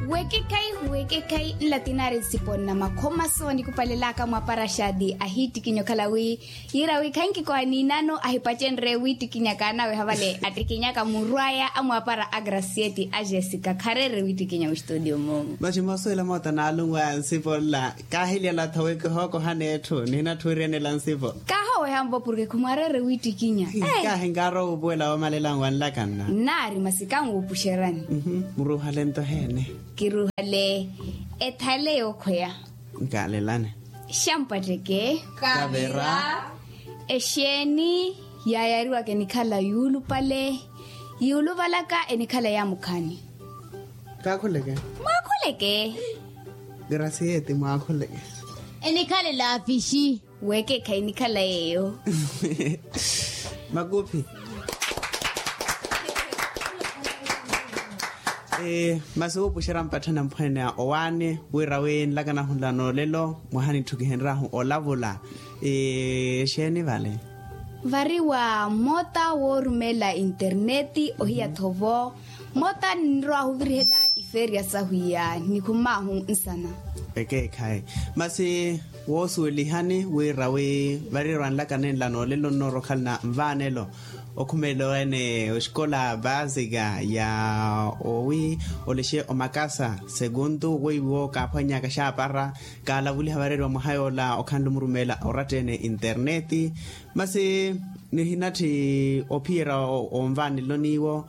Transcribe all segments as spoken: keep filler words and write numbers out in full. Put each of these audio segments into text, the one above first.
Wekekhayi wekekhayi nlatinari nsipo nna makhoma soonikupalelaka mwaapara xaati ahiittikinyo khala wi yiira wi khankikoha niinano ahipacenrye wiittikinyaka anaweha vale attikinyaka muru aya amwaapara a gracieti a jessica khareere wiittikinya muxituutiyo moomu. Masi moosuwela moota naalunwa nsipo nla kaahilyalatho wi kihookohana etthu nihinatthuwiryana ela nsipo. Kaahoweha nvo porke khumwareere wiittikinya. Kaahinkaaro wuupuwela woomalela nwanlaka nna. Nnaari masi kanwuupuxerani. Muruuhale nto heene. Kiruuhale ethale yookhweya. Nkaalelane. Xampwatteke. Kavira. Exeeni yaayariwaka enikhala yuulupale yuuluvalaka enikhala yaamukhaani. Kaakhuleke. Mwaakhuleke. Gracieti mwaakhuleke. Enikhala elaafixi. Weekekha enikhala yeeyo. Makuphi. Masi wuupuxerya mpatthana mphweene owaani wira wi nlakanahu nla noolelo mwaha nitthu kihenryahu olavula. Exeeni vale. Vari wa mmoota woorumeela interneeti ohiya-tho vo mmoota ninrowahu ovirihela ifeeriya sahu iya nikhumaahu nsana. Ekeekhayi. Masi woosuwelihani wira wi vari erwanlaka nenla noolelo nnoorokhalana nvaanelo okhumelela ene oxikola baasika ya owi olexe omakasa sekuntu weiwo kaaphwannyaka xaapara kaalavuliha vareeriwa mwaha yoola okhanle omurumeela oratta-ene interneeti. Masi nihinatthi ophiyerya onvaanelo n'iwo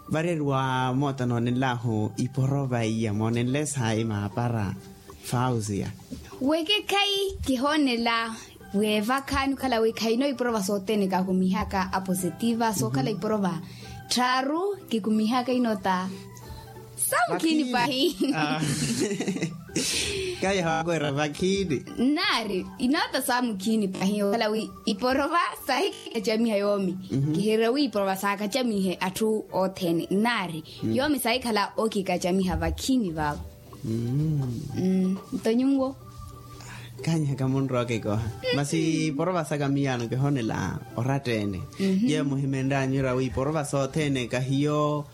vareeriwa moota noonenlahu iporova iya moonenle saayi maapara. Fausia. Wekekhayi kihoonela weevakhaani okhala wi khayino iporova sothene kaakumihaka apositiva sookhala iporova tthaaru kikumihaka inoota. Samukhini pahi. Kayaha wakwera vakhini. Nnaari inoota samukhini pahi okhala wi iporova sahi kikacamiha yoomi. Kihireera wi iporova saakacamihe atthu othene nnaari yoomi saahikhala okikacamiha vakhini vaavo. Nto nyuwo. Kaanyihaka munrowa okikoha masi iporova saka miyaano kihoonela oratta-ene. Yeeyo muhimenryanyu ira wi iporova sothene kahiyo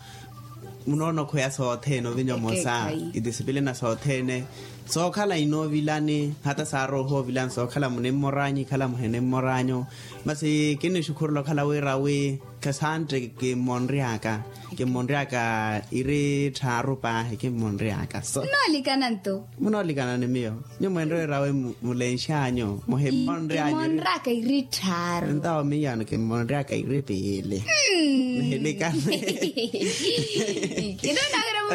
munoona okhweya sothene ovinya omosa. Itisipilina sothene sookhala inoovilani hata saarooha ovilani sookhala munimmoranyu ikhala muhinimmoranyu. Masi kinnixukhurela okhala wira wi khasantte kimmonry'aka kimmonry'aka iri tthaaru paahi kimmonry'aka so. Nnoolikana nto. Munoolikana ni miyo nyuwo mwenre wira wi mulenx'anyu muhimmonry'anyu. Kimmonry'aka iri tthaaru. Ntawo miyaano kimmonry'aka iri piili. Nihilikane.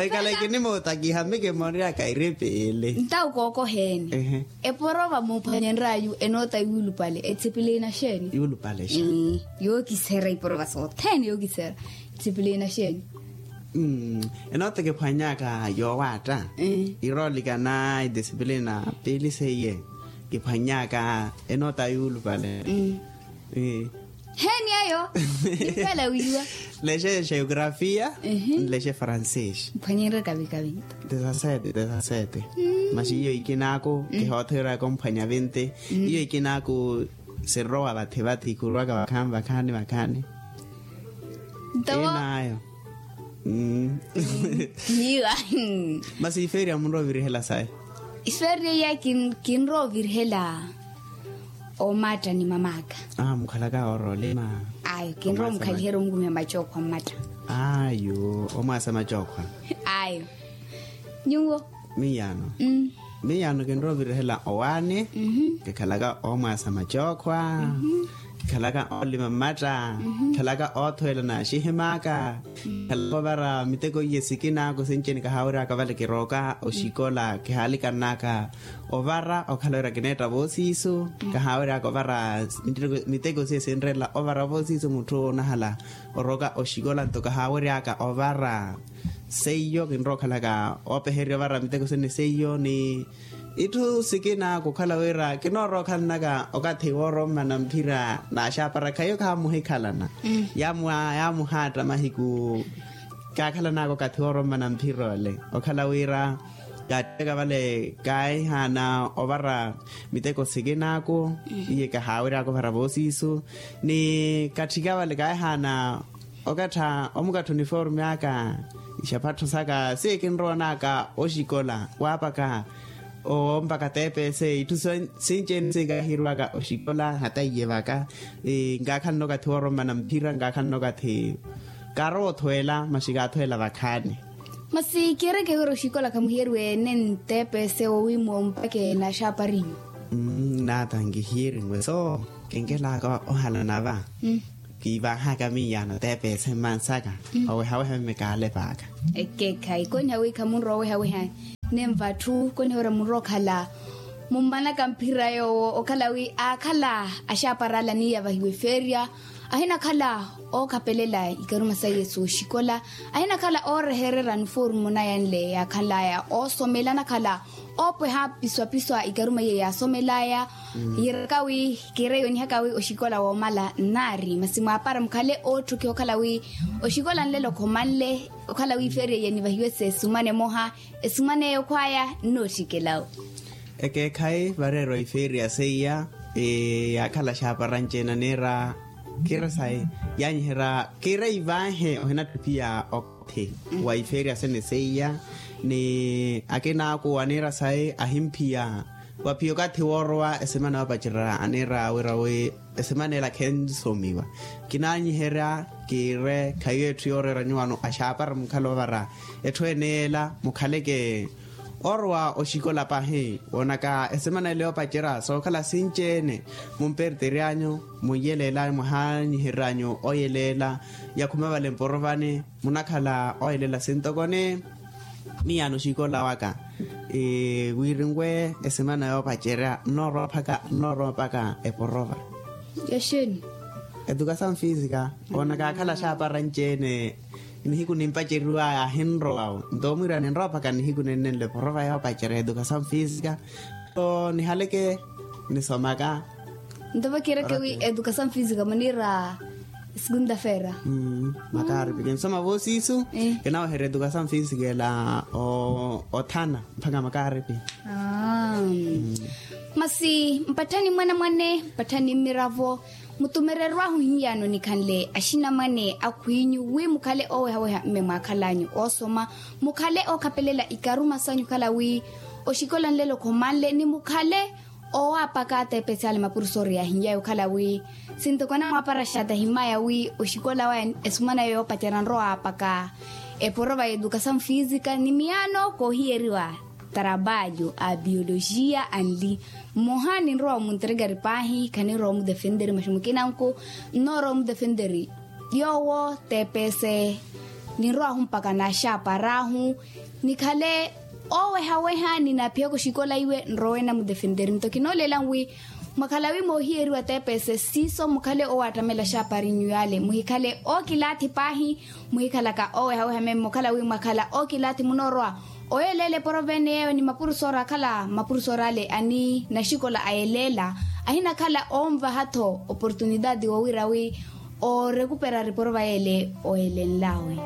Ekhala kinimootakiha mi kimmonry'aka iri piili. Ntawo kookoheene. Eporova muuphwanyenryayu enoota yuulupale etsipilina xeeni? Yuulupale xeeni? Yookiserya iporova sothene yookiserya etsipilina xeeni? Enoota kiphwannyaka yoowaatta iroolikana idisipilina piili seiye kiphwannyaka enoota yuulupale. Heeni eyo? Nimpela wiiwa. Lexe geografia nlexe francês. Mphwanyenrye kavi kavi nto. Dezasete dezasete. Masi iyo ikinaaku kihoothereraka omphwanya vinti. Iyo ikinaaku sinrowa vathi vathi khurwaka vakhaani vakhaani vakhaani. Nto inayo. Niiwa. Masi ifeeriya munrowa ovirihela sayi? Ifeeriya iya kinrowa ovirihela omatta ni mam'aka. Mukhalaka oorolima? Ayo kinrowa omukhaliherya omukumiha macookho a mmatta. Ayo omwaasa macookho. Ayo. Nyuwo? Miyaano. Miyaano kinrowa ovirihela owaani. Kikhalaka omwaasa macookhwa. Kikhalaka olima mmatta. Kikhalaka othweela naaxihim'aka. Khalaka ovara miteko iye sikin'aka osinci-ene kahaawery'aka vale kirooka oxikola kihaalikann'aka ovara okhala wira kineetta voosiisu. Kahaawery'aka ovara miteko siye sinreela ovara voosiisu mutthu onahala orooka oxikola nto kahaawery'aka ovara. Seiyo kinrowa okhalaka oopehererya ovara miteko sene seiyo ni itthu sikina kukhala wira kinoorowa okhalnaka okathi woorommana mphira naaxaapara khaiyo khamuhikhalana. Yaamuhaatta mahiku kaakhalanaka okathi woorommana mphira ole okhala wira kaatteka vale kaahihaana ovara miteko sikin'aku iye kahaawery'aka ovara voosiisu ni katthika vale kaahihaana okattha omukattha uniforme aka Ixapattho saka si kinrowanaka oxikola waapaka ompaka tepese itthu sinci-ene si kaahirwaka oxikola hata iye vaka. Nkaakhalana okathi wooromana mphira nkaakhalana okathi kaarowa othweela masi kaathweela vakhaani. Masi kiireke wira oxikola khamuhiyeriwe ene ntepese wowiimo mpakhe na xaaparinyu. Naata nkihiyerenwe so kinkelaka ohalana va. Kiivaahaka miyaano teepeese mmansaka owehaweha mmikaalepaaka. Ekeekhayi koniha wi khamunrowa owehaweha nenva atthu koniha wira munrowa okhala mummanaka mphira yoowo okhala wi aakhala axaapara ale aniiyavahiwa efeerya ahinakhala ookhapelela ikaruma saiye sooxikola ahinakhala oorehererya niforumo naya nle yaakhanlaya oosomela anakhala oopweha piswapiswa ikaruma iye yaasomelaya. Yiiraka wi kiireyo onihaka wi oxikola woomala nnaari masi mwaapara mukhale ootthokiha okhala wi oxikola nlelo khomanle okhala wi ifeeriya iye nivahiwe seesumane emoha esumaneyo khwaya nnootthikelawo. Ekeekhayi vareerwa ifeeriya seiya yaakhala xaapara nci-ene aniira kiira sayi yaanyiherya kiira ivaahe ohinatthu phiya okathi wa ifeeriya sene seiya ni akina aku aniira sayi ahimphiya waphiya okathi woorowa esemana yoopacerya aniira wira wi esemana ela khensomiwa. Kinaanyiherya kiire khayi etthu yooreera nyuwano axaapara mukhala ovara etthu ene ela mukhaleke oorowa oxikola pahi woonaka esemana ela yoopacerya sookhala sinci-ene mumpertery'anyu munyelela mwahaanyihery'anyu oyelela yakhuma vale mporovani munakhala oyelela sintokoni. Miyaano oxikola waka wiirinwe esemana yoopacerya nnoorowa mpaka nnoorowa mpaka eporova. Yaxeeni? Edukasawu fiisika woonaka akhala axaapara nci-ene nihiku nimpaceriwaya ahinrowawo nto mwiira ninrowa mpaka nihiku nennenle porova yoopacerya edukasawu fiisika. Nto nihaleke nisomaka. Nto vakiireke wi edukasawu fiisika muniira segunda feera. Makaaripi kinsoma voosiisu kinaweherya edukasawu fiisika ela othana mpaka makaaripi. Masi mpatthani mwanamwane mpatthani mmiravo mutumererw'ahu hiyano nikhanle axinamwane akhw'inyu wi mukhale oowehaweha mme mwaakhal'anyu oosoma mukhale ookhapelela ikaruma sanyu okhala wi oxikola nlelo khomanle ni mukhale owaapaka tepesi ale mapurusoori yaahin'yayo okhala wi sintoko anamwaapara xata ahimmaya wi oxikola waya esumana yoopacerya anrowa aapaka eporova ya edukasawu fiisika ni miyaano koohiyeriwa tarabalho a biologia anli mmoha ninrowa omunterekari paahi khaninrowa omudefenteri masi mukinanku nnoorowa omudefenteri yoowo tepese ninrowahu mpaka naaxaapar'ahu nikhale oowehaweha ninaphiyaka oxikola iwe nrowe namudefenteri nto kinooleela nwi mwakhala wi moohiyeriwa tepese siiso mukhale oowattamela axaaparinyu yale muhikhale ookilaathi paahi muhikhalaka oowehaweha meme okhala wi mwakhala ookilaathi munoorowa oyelela eporovene yeeyo ni mapurusoori akhala mapurusoori ale ani naxikola ayelela ahinakhala oonvaha-tho oportunitaati woowira wi oorekupera riporova yeele oyelenlawe.